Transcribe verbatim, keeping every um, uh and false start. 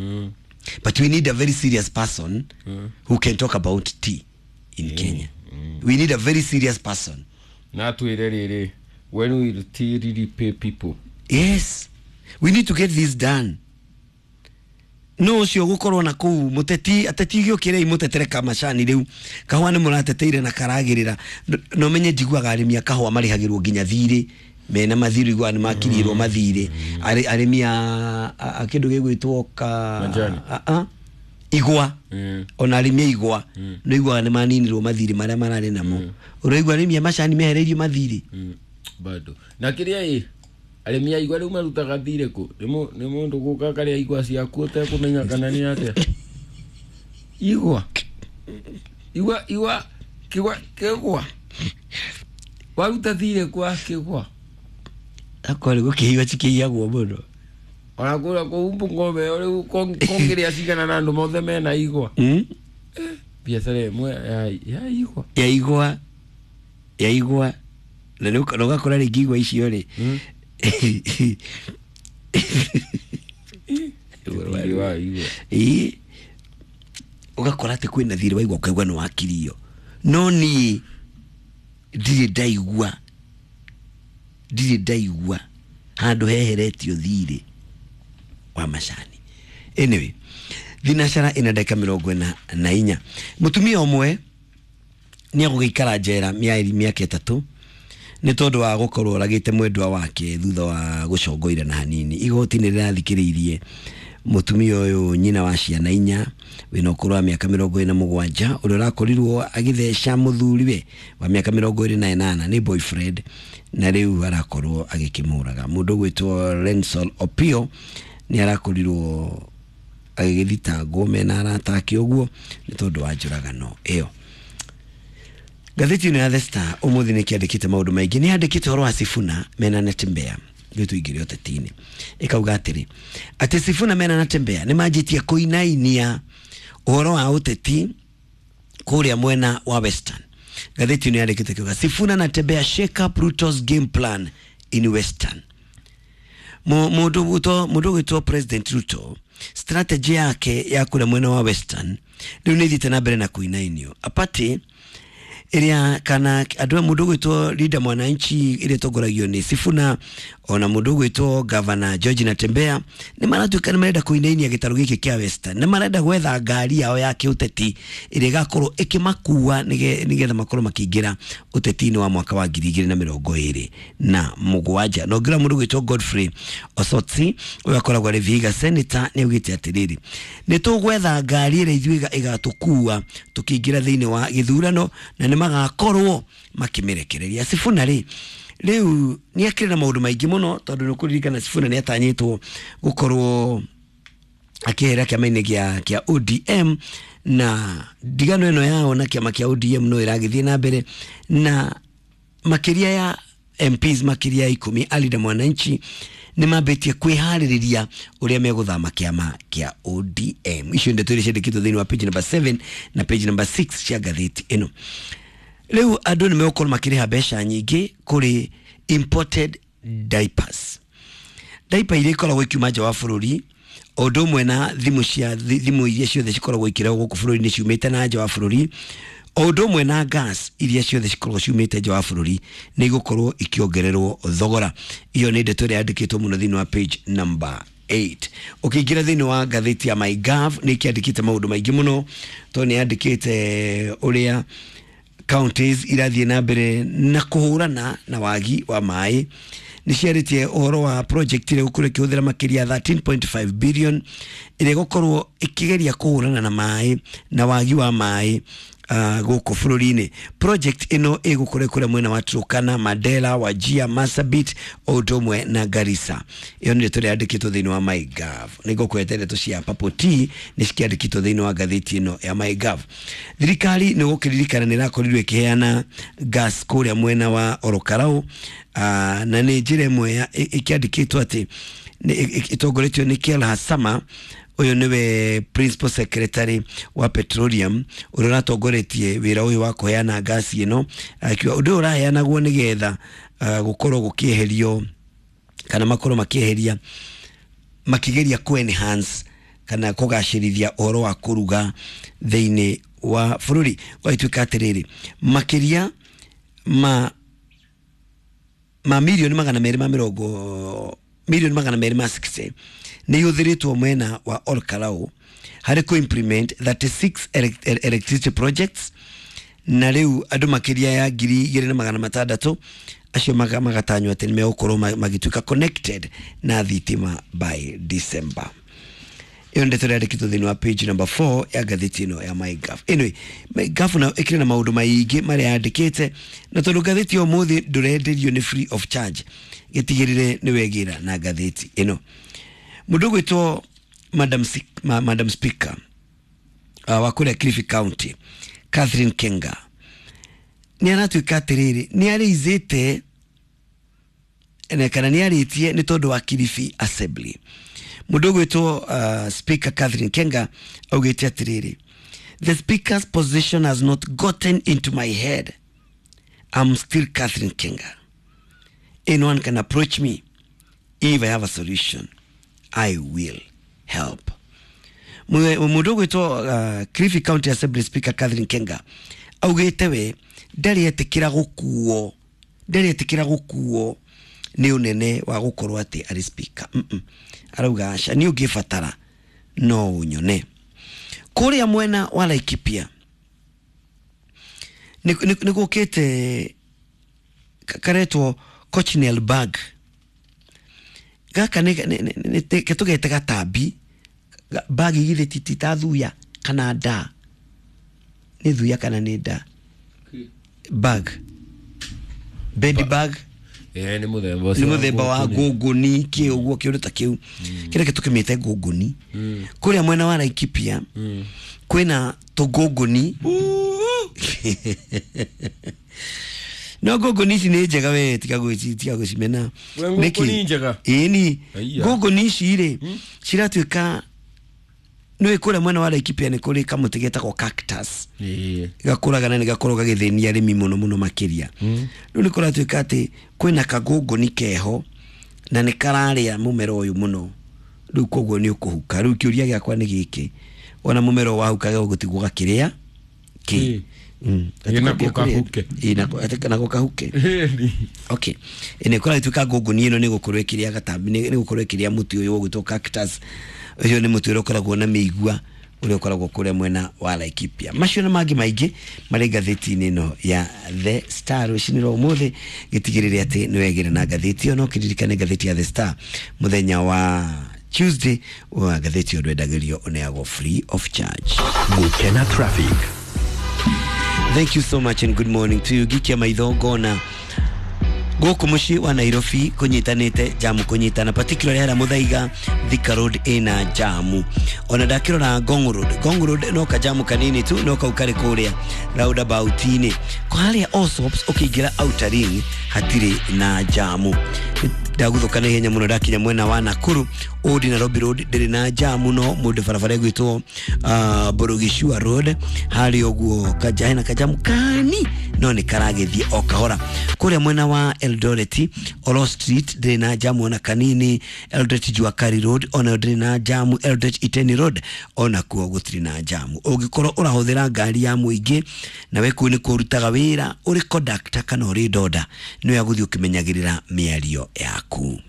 Mm. But we need a very serious person mm. who can talk about tea in mm. Kenya. Mm. We need a very serious person. Na twire riri, when will tea really pay people? Yes. We need to get this done. No ucio gukorwo na kuu muteti ateti giukire imutetere kamacani riu kahua ni murateteire na karagirira no menye njiguaga arimi a kahua marihagirwo nginya thiri mena mathiru igwa ni makirirwo mathiri arimi a kindu gigwitwo ka a igwa ona arimi igwa no igwa ni maninirwo mathiri maria marari namo uraigwa arimi a macani mehereirio mathiri bado na kiria i arimi a igwa riu marutaga thire ku ni mundu guka karia igwa ciaku utekumenya kana ni atia igwa igwa igwa kigwa kigwa waruta thire kwa kigwa akore gukihiwa cikihiyagwo muno ona kura kuu Bungoma riu kongiria cigana na andu mothe mena igwa biacara imwe ya igwa ya igwa ya igwa na ugakora ringi igwa icio ri ii ugakora ati kwina thiri wa igwa ukaigua ni wakirio no ni ndirĩ ndaigua ndirĩ ndaigua handu heheretio thiri wa macani. Anyway, thinacara ina ndagĩka mĩrongo ĩna na inya. Mũtumia ũmwe nĩ egũgĩikara njera mĩeri mĩaka ĩtatũ nĩ tondũ wa gũkorwo oragĩte mwendwa wake thutha wa gũcongoira na hanini. Igoti nĩ rĩrathikĩrĩirie mũtumia ũyũ nyina wa ciana inya wĩna ũkũrũ wa mĩaka mĩrongo ĩna mũgwanja ũrĩa ũrakorirwo agĩtheca mũthuriwe wa mĩaka mĩrongo ĩrĩ na ĩnana nĩ boyfriend na rĩu arakorwo agĩkĩmũraga. Mũndũ ũgwĩtwo Rensol Opio nĩ arakorirwo agĩgĩthitangwo mena arata ake ũguo nĩ tondũ wa njũragano ĩyo. Ngathĩti ĩno ya The Star ũmũthĩ nĩ kĩandĩkĩte maũndũ maingĩ. Nĩ yandĩkĩte ũhoro wa Sifuna mena Natembeya rĩu tũingĩre ũteti-inĩ. Ĩkauga atĩrĩ atĩ Sifuna mena Natembeya nĩ manjĩtie kũinainia ũhoro wa ũteti kũrĩa mwena wa Western. Ngathĩti ĩno yandĩkĩte kiuga Sifuna Natembeya shake up Ruto's game plan in Western. Mũndũ ũgwĩtwo President Ruto strategy yake ya kũrĩa mwena wa Western rĩu nĩ ĩthiĩte na mbere na kũinainio. Apati ĩrĩa kana andũ a mũndũ ũgwĩtwo Linda Mwananchi ĩrĩa ĩtongoragio nĩ Sifuna ona mũndũ ũgwĩtwo Governor George Natembeya nĩ maratuĩka nĩ marenda kũinainia gĩtarũ gĩkĩ kĩa Western. Nĩ marenda gwetha ngari yao ya kĩũteti ĩrĩa ĩgakorwo ĩkĩmakua nĩgetha makorwo makĩingĩra ũteti-inĩ wa mwaka wa ngiri igĩrĩ na mĩrongo ĩrĩ na mũgwanja. Na ũngĩrora mũndũ ũgwĩtwo Godfrey Osotsi ũrĩa akoragwo arĩ Vihiga Senator nĩ augĩte atĩrĩrĩ nĩ tũgwetha ngari ĩrĩa ithuĩ ĩgatũkua tũkĩingĩra thĩinĩ wa gĩthurano na nĩ magakorwo makĩmĩrekereria. Sifuna rĩ rĩu nĩ akĩrĩ na maũndũ maingĩ mũno tondũ nĩ ũkũririkana Sifuna nĩ atanyĩtwo gũkorwo akĩehera kĩama-inĩ gĩa kĩa O D M na ndigano ĩno yao na kĩama kĩa O D M no ĩragĩthiĩ na mbere na makĩria ya M Ps makĩria ya ikũmi a Linda Mwananchi nĩ mambĩtie kwĩharĩrĩria ũrĩa megũthama kĩama kĩa O D M. Icio ndeto iria ciandĩkĩtwo thĩinĩ wa page number seven na page number six cia ngathĩti ĩno. Rĩu andũ nĩ megũkorwo makĩrĩha mbeca nyingĩ kũrĩ imported diapers. Diaper iria ikoragwo ikiuma nja wa bũrũri o ũndũ ũmwe na thimũ cia thimũ iria ciothe cikoragwo ikĩrehwo gũkũ bũrũri-inĩ ciumĩte na nja wa bũrũri o ũndũ ũmwe na gas iria ciothe cikoragwo ciumĩte nja wa bũrũri nĩ igũkorwo ikĩongererwo thogora. Iyo nĩ ndeto ĩrĩa yandĩkĩtwo mũno thĩinĩ wa page number eight. Ũkĩingĩra thĩinĩ wa ngathĩti ya MyGov nĩ ĩkĩandĩkĩte maũndũ maingĩ mũno tondũ nĩ yandĩkĩte ũrĩa counties irathiĩ na mbere na kũhũrana na wagi wa maĩ. Nĩ ciarĩtie ũhoro wa project ĩrĩa ĩgũkorwo ĩkĩhũthĩra makĩria thirteen point five billion ĩrĩa ĩgũkorwo ĩkĩgeria kũhũrana na maĩ na wagi wa maĩ gũkũ bũrũri-inĩ. Project ĩno ĩgũkorwo kũrĩa mwena wa Turkana, Mandera, Wajir, Marsabit o ũndũ ũmwe na Garissa. Ĩyo nĩ ndeto ĩrĩa yandĩkĩtwo thĩinĩ wa MyGov. Nĩ ngũkwĩra ndeto cia Purple Tea nĩ cikĩandĩkĩtwo thĩinĩ wa ngathĩti ĩno ya MyGov. Thirikari nĩ gũkĩririkana nĩ ĩrakorirwo ĩkĩheana gas kũrĩa mwena wa Orokarau na nĩ njĩra ĩmwe ĩkĩandĩkĩtwo atĩ ĩtongoretio nĩ Kel Hasama ũyũ nĩwe principal secretary wa petroleum ũrĩa ũratongoretie wĩra ũyũ wa kũheana ngasi ĩno akiuga ũndũ ũyũ ũraheanagwo nĩgetha gũkorwo gũkĩeherio kana makorwo makĩeheria makĩgeria ku enhance kana kũgacĩrithia ũhoro wa kũruga thĩinĩ wa bũrũri. Gwagĩtuĩka atĩrĩrĩ, makĩria ma ma milioni magana merĩ ma mĩrongo milioni magana merĩ ma sixty nĩ ihũthĩrĩtwo mwena wa Olkalau harĩ kũ implement thirty-six electricity projects, na rĩu andũ makĩria ya ngiri igĩrĩ na magana matandatũ acio magatanywo atĩ nĩ megũkorwo magĩtuĩka connected na thitima by December. Ĩyo ndeto ĩrandĩkĩtwo thĩinĩ wa page number four ya ngathĩti ĩno ya MyGov. Anyway, MyGov nayo ĩkĩrĩ na maũndũ maingĩ marĩa yandĩkĩte, na tondũ ngathĩti ya ũmũthĩ ndũrenderio nĩ free of charge, gĩtigĩrĩre nĩ wegĩra na ngathĩti ĩno. Mũndũ ũgwĩtwo Madam, Ma, Madam Speaker uh, wa kũrĩa Kilifi County Catherine Kenga nĩ aratuĩka atĩrĩrĩ, nĩ arĩizĩte kana nĩ arĩtie nĩ tondũ wa Kilifi Assembly. Mũndũ ũgwĩtwo uh, Speaker Catherine Kenga augĩte atĩrĩrĩ, the speaker's position has not gotten into my head. I'm still Catherine Kenga. Anyone can approach me. If I have a solution, I will help. Mũndũ ũgwĩtwo uh, Kilifi County Assembly Speaker Catherine Kenga augĩte we ndarĩ etĩkĩra gũkuo, ndarĩ etĩkĩra gũkuo nĩ ũnene wa gũkorwo atĩ arĩ speaker. Mm -mm. Arauga aca, nĩ ũngĩbatara no ũnyone. Kũrĩa mwena wa Laikipia nĩ gũkĩte karetwo cochineal bag. Gaka nĩ tũgete gatambi, bag igithĩ ti ta thuya kana nda, nĩ thuya kana nĩ nda, bag, bed bag. Eh, nĩ mũthemba nĩ mũthemba wa ngũngũni kĩ ũguo kĩũndũ ta kĩu kĩrĩa tũkĩmĩte ngũngũni. Kũrĩa mwena wa Laikipia kwĩna tũngũngũni. No ngũngũni ici nĩ njega we, tiga tiga gũcimena. Ngũngũni njega? Ĩni, ngũngũni ici rĩ ciratuĩka nĩ kũrĩa mwena wa Laikipia nĩ kũrĩ kamũtĩ getagwo cactus. Gakũraga na nĩ gakoragwo gagĩthĩnia arĩmi mũno mũno makĩria. Rĩu nĩ kũratuĩka atĩ kwĩna kagũngũni keho na nĩ kararĩa mũmera ũyũ mũno, rĩu koguo nĩ ũkũhuka. Rĩu kĩũria gĩakwa nĩ gĩkĩ, ona mũmera ũyũ wahuka gũtigwo gakĩrĩa kĩ? Nako kahuke. Okay, ĩnĩ kũratuĩka ngũngũni ĩno nĩ gũkorwo ĩkĩrĩa gatambi, nĩ gũkorwo ĩkĩrĩa mũtĩ ũyũ ũgwĩtwo cactus. Ũcio nĩ mũtĩ ũrĩa ũkoragwo na mĩigua ũrĩa ũkoragwo kũrĩa mwena wa Laikipia. Macio na mangĩ maingĩ marĩ ngathĩti-inĩ ĩno ya The Star rũcinĩ rwa ũmũthĩ. Gĩtigĩrĩre atĩ nĩ wegĩra na ngathĩti ĩyo, no kĩririkane ngathĩti ya The Star mũthenya wa Tuesday wa ngathĩti ĩyo ndwendagĩrio, ũneagwo free of charge. Gukena traffic. Thank you so much and good morning to you. Gikia maitho ngona gũkũ mũciĩ wa Nairobi kũnyitanĩte jamu kũnyitana, particularly harĩa Muthaiga Thika Road ĩna jamu. Ona ndakĩrora Ngong Road, Ngong Road no kajamu kanini tu, no kau karĩ kũrĩa roundabout-inĩ. Harĩa Allsops ũkĩingĩra Outer Ring hatirĩ na jamu. Ndaguthũka na ihenya mũno ndakinya mwena wa Nakuru Old Nairobi Road ndĩrĩ na jamu, no mũndũ barabara ĩgwĩtwo uh, Borogishua Road harĩ ũguo kaja hena kajamu kani no nĩ karagĩthiĩ o kahora. Kũrĩa mwena wa Eldoret Olo Street ndĩrĩ na jamu ona kanini, Eldoret Juakari Road ona ndĩrĩ na jamu, Eldoret Iteni Road ona kuo gũtirĩ na jamu. Ũngĩkorwo ũrahũthĩra ngari ya mũingĩ na we kũu nĩ kũrutaga wĩra ũrĩ conductor kana ũrĩ ndoda, nĩ wega gũthiĩ ũkĩmenyagĩrĩra mĩario yaku.